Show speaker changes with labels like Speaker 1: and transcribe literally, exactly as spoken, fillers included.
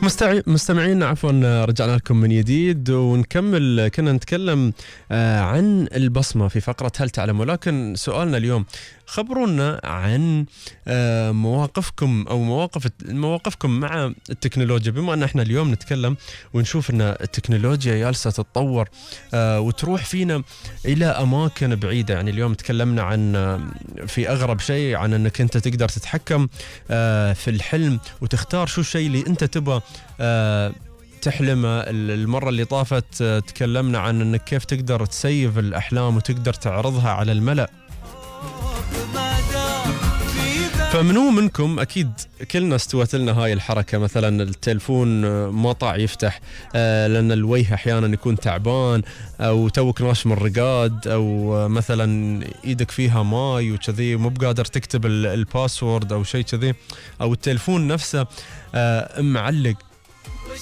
Speaker 1: مستعي... مستمعين عفوا، رجعنا لكم من جديد ونكمل. كنا نتكلم آه عن البصمة في فقرة هل تعلم، ولكن سؤالنا اليوم خبرونا عن آه مواقفكم أو مواقف مواقفكم مع التكنولوجيا، بما أن احنا اليوم نتكلم ونشوف أن التكنولوجيا جالسة تتطور آه وتروح فينا إلى أماكن بعيدة. يعني اليوم تكلمنا عن آه في أغرب شيء عن أنك أنت تقدر تتحكم آه في الحلم وتختار شو الشيء اللي أنت تبغى أه تحلم. المرة اللي طافت أه تكلمنا عن انك كيف تقدر تسيف الأحلام وتقدر تعرضها على الملأ. فمنو منكم أكيد كلنا استوت لنا هاي الحركة، مثلا التلفون ما طاع يفتح أه لأن الوجه أحيانا يكون تعبان، أو توك ناش من الرقاد، أو مثلا إيدك فيها ماي وكذي مو بقادر تكتب الباسورد أو شيء كذي، أو التلفون نفسه أه معلق.